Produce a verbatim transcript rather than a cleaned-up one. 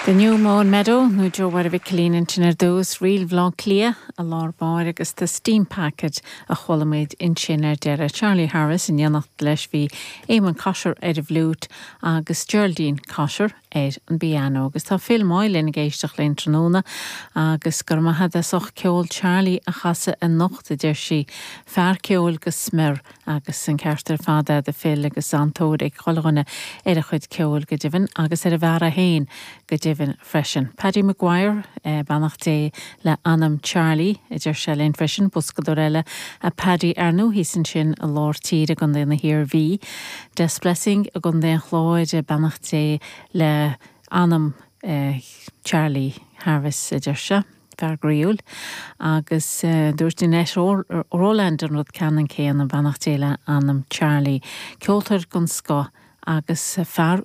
The New Mown Meadow nó Joe Mháire Mhic Cillín ansin ar dtús Ríl Bhaile Átha Cliath i lár báire agus The Steam Packet a chuala muid ansin ar deireadh Charlie Harris in éineacht leis bhí Eamon Cotter ar an bhfliúit agus Geraldine Cotter ar an bpianó agus tá Phil Moylan ag éisteacht linn tráthnóna agus gur maith as ucht ceol Charlie a chasadh anocht a deir sí fear ceoil go smior agus an ceart ar fad aige Phil agus an-tóir ag chuile dhuine ar a chuid ceoil go deimhin agus ar a bhfear é féin go deimhin freisin. Paddy Maguire eh, beannacht Dé le anam Charlie a deir sé linn freisin boscadóir eile a Paddy ar ndóigh ansin i lár tíre i gContae na hIarmhí. Des Blessing i gContae an Chláir beannacht Dé le anam eh, Charlie Harris a deir sé. Fear groíúil agus uh, dúirt Annette Roland an rud ceannann céanna beannacht Dé le anam Charlie. Ceoltóir den scoth agus fear